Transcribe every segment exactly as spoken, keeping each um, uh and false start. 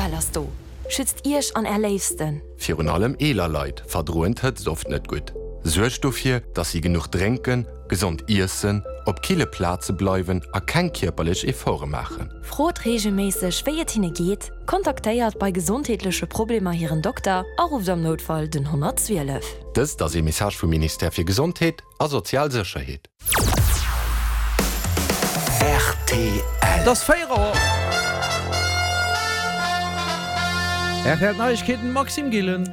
Rtl ass do. Schützt Iech an Är Léifsten. Virun allem eeler Leit verdroen d'Hëtzt oft net gutt. Suergt dofir, dass si genuch drénken, gesond iessen, op kille Plaze bleiwen a keng kierperlech Efforte maachen. Frot reegelméisseg, wéi et hinne geet, kontaktéiert bei gesondheetleche Problemer hiren Dokter a rufft am Noutfall den honnertzwielef. Dëst ass ee Message vum Ministère fir Gesondheet a sozial Sécherheet. Rtl. Et ass véier Auer. R T L Neiegkeeten, Maxime Gillen.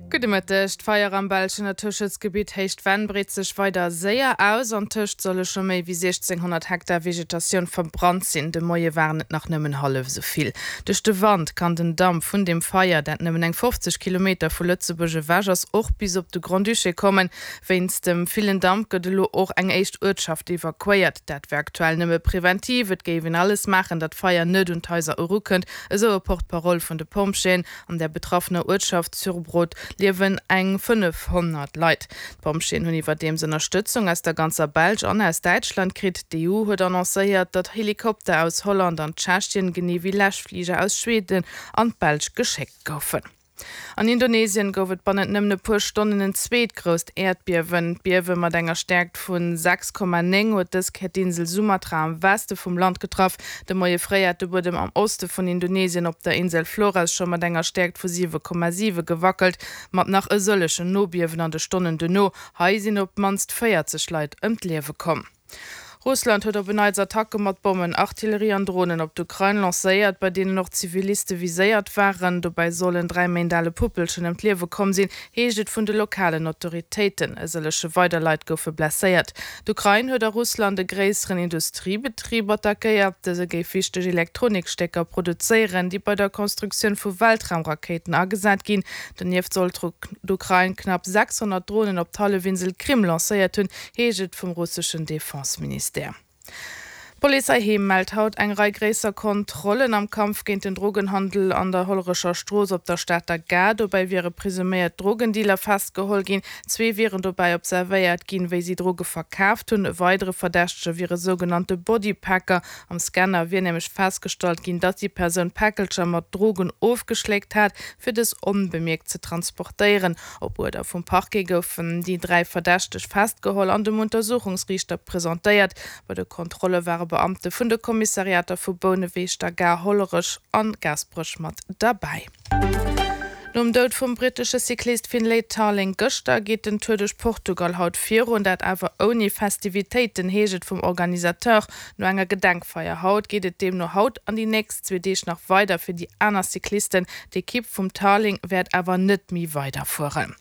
Gudde Mëtteg. D'Feier am belschen Naturschutzgebitt Héicht Venn breet sech weider séier aus. Antëscht solle scho méi wéi siechzénghonnert Hektar Vegetatioun verbrannt sinn. De Moie waren et nach nëmmen hallef esou vill. Duerch de Wand kann den Damp vun dem Feier, dat nëmmen eng fofzeg Kilometer vu Lëtzebuerg ewech ass, och bis op de Grand-Duché kommen. Wéinst dem villen Damp gëtt elo och eng éischt Uertschaft evakuéiert. Dat wär aktuell nëmme preventiv, et géif een alles maachen, datt d'Feier net un d'Haiser erukënnt, esou e Porte-parole vun de Pompjeeën. An der betraffener Uertschaft Sourbrodt liewen eng fënnefhonnert Leit. D'Pompjeeën hunn iwwerdeems Ënnerstëtzung aus der ganzer Belsch an aus Däitschland kritt. D'E U huet annoncéiert, datt Helikopter aus Holland an Tschechien, genee wéi Läschfliger aus Schweden an d'Belsch geschéckt goufen. An Indonesien gouf et bannent nëmmen e puer Stonnen en zweet grousst Äerdbiewen. D'Biewe mat enger Stäerkt vu sechs Komma néng huet dës Kéier d'Insel Sumatra am Weste vum Land getraff. De Moie fréi hat de Buedem am Oste vun Indonesien op der Insel Flores scho mat enger Stäerkt vu siwe Komma siwe gewackelt, mat nach e sëllegen Nobiewen an de Stonnen duerno. Hei sinn op d'mannst véierzeg Leit ëm d'Liewe komm. Russland huet op en Neits Attacke mat Bommen, Artillerie an Dronen op d'Ukrain lancéiert, bei deenen och Ziviliste viséiert waren. Dobäi soll en dräi Méint ale Puppelchen ëm d'Liewe komm sinn, heescht et vun de lokalen Autoritéiten. E sëllege weider Leit goufe blesséiert. D'Ukrain huet a Russland e gréisseren Industriebetrib attackéiert. Dëse géif wichteg Elektronikstécker produzéieren, déi bei der Konstruktioun vu Weltraumrakéiten agesat ginn. Donieft soll d'Ukrain knapp sechshonnert Dronen op d'Hallefinsel Krim lancéiert hunn, heescht et vum russeschen Defenseministère. D'Police heiheem mellt haut eng Rei gréisser Kontrollen am Kampf géint den Drogenhandel an der Hollerecher Strooss op der Stater Gare. Dobäi wiere presuméiert Drogendealer festgeholl ginn. Zwee wieren dobäi observéiert ginn, wéi si Droge verkaaft hunn. E weidere Verdächtege wier e sougenannte Bodypacker. Am Scanner wier nämlech festgestallt ginn, datt déi Persoun Päckelcher mat Drogen ofgeschléckt hat, fir dës onbemierkt ze transportéieren. Op Uerder vum Parquet goufen déi dräi Verdächteg festgeholl an dem Untersuchungsriichter presentéiert. Bei de Kontrolle ware Beamte vun de Kommissariater vu Bouneweg, der Gare, Hollerech an Gaasperech mat derbäi. Nom Doud vum brittesche Cyclist Finlay Tarling gëschter geet den Tour duerch Portugal haut virun, dat awer ouni Festivitéiten, heescht et vum Organisateur. No enger Gedenkfeier haut geet et deemno haut an déi nächst zwee Deeg nach weider fir déi aner Cyclisten. D'Ekipp vum Tarling wäert awer net méi weiderfueren.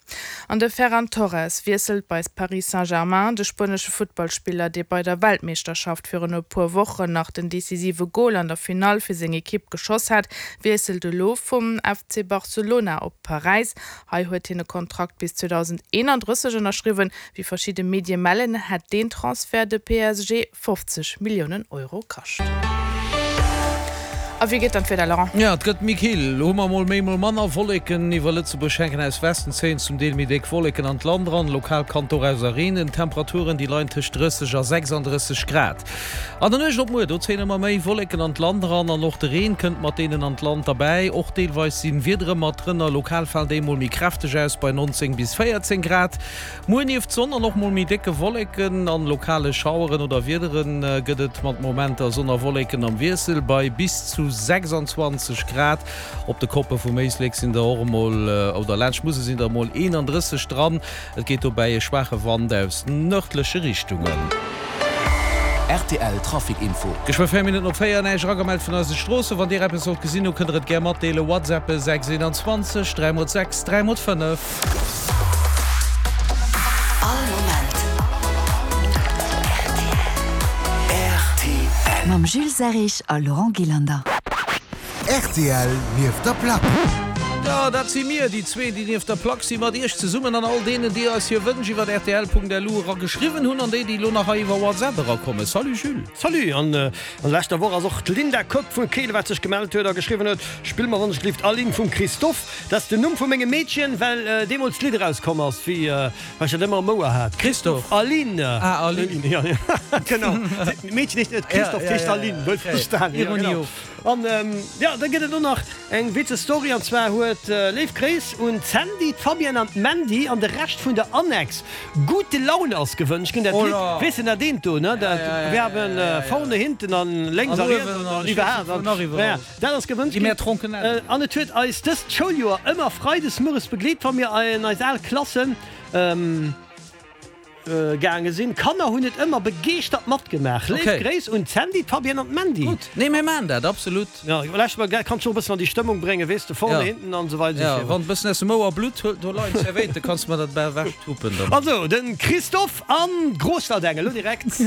An de Ferran Torres wiesselt bei Paris Saint-Germain. De spuenesche Futtballspiller, dee bei der Weltmeeschterschaft virun e puer Wochen nach den decisive Gol an der Finall fir seng Ekipp geschoss hat, wiesselt elo vum F C Barcelona op Paräis. Hei huet hien e Kontrakt bis zweedausendeenandrësseg ënnerschriwwen. Wéi verschidde Medie mellen, hätt deen Transfert de P S G fofzeg Milliounen Euro kascht. A wéi geet dann d'Wieder, Laurent? Jo, et gëtt méi kill. Hu mer mol méi, mol manner Wolleken iwwer Lëtzebuerg. Hänken aus Westen zéien zum Deel méi déck Wolleken an d'Land eran. Lokal kann dorauser reenen. D'Temperaturen, déi leien tëscht drësseg a sechsandrësseg Grad. An der Nuecht op muer, do zéien ëmmer méi Wolleken an d'Land eran an och de Reen kënnt mat deenen an d'Land derbäi. Och deelweis sinn Wiedere mat drënner. Lokal falen déi mol méi kräfteg aus bei nonzéng bis véierzéng Grad. Muer nieft Sonn an och mol méi décke Wolleken an lokale Schaueren oder Wiederen gëtt et mat Momenter Sonn a Wolleken am Wiessel bei bis zu sechsanzwanzeg Grad. Op de Koppe vum Éislek sinn der och emol, oder laanscht d'Musel sinn der emol eenandrësseg dran. Et geet dobäi e schwaache Wand aus nërdleche Richtungen. R T L Trafic Info. Geschwë véier Minutten op véier, näischt eragemellt vun eise Stroossen. Wann Dir eppes sollt gesinn hu kënnt der et gär matdeelen. WhatsAppen sechs eenanzwanzeg dräi mol sechs dräi mol fënnef. All Moment R T L. Mam Jules Serrig a Laurent Gillander. R T L nieft der Plack. Jo, dat si mir, déi zwee, déi nieft der Plack si mat Iech zesummen an all deenen, déi eis hir Wënsch iwwer rtl Punkt L U era geschriwwen hunn an déi, déi elo nach hei iwwer WhatsApp erakommen. Salut Jules. Salut! An an leschter Woch ass och d'Linda Kock vu Keel, wat sech gemellt huet a geschriwwen huet, Spill mer wann ech gelift Aline vum Christophe. Dat ass den Numm vu mengem Meedchen, well deemools d'Lidd erauskomm ass, wéi well ech dat ëmmer am Ouer hat. Christophe. Aline! Ah, Aline. Ja, genau. D'Meedchen heescht net Christophe, d'heescht Aline. Wuel verstanen. Ironie of. An jo, da gëtt et och nach eng witzeg Story, an zwar huet, léif Gréiss un d'Sandy, d'Fabienne an d'Mandy an de Rescht vun der Annex, gute Laune ass gewënscht ginn. Dat Lidd, weess de dat eent do, ne, dat wir haben vorne, hinten an lénks a riets an iwwerhaapt, dat ass gewënscht ginn. An et huet eis dëst Schouljoer ëmmer freides mueres begleet, wa mir an eis al Klassen gaange sinn. D'Kanner hunn et ëmmer begeeschtert matgemaach. Léif Gréiss un d'Sandy, d'Fabienne an d'Mandy. Gutt, nee mir maachen dat, absolut. Jo, lauschter mol, dat kanns du och e bëssen an déi Stëmmung bréngen, weess de, vorne, hinten an esou weider esou virun. Jo, wann e bëssen aus dem Ouer blutt, huel do leien d'Zerwéite, kanns de mer dat bal ewech tuppen dann. Also, de Christophe an d'Großwaldeng elo direkt.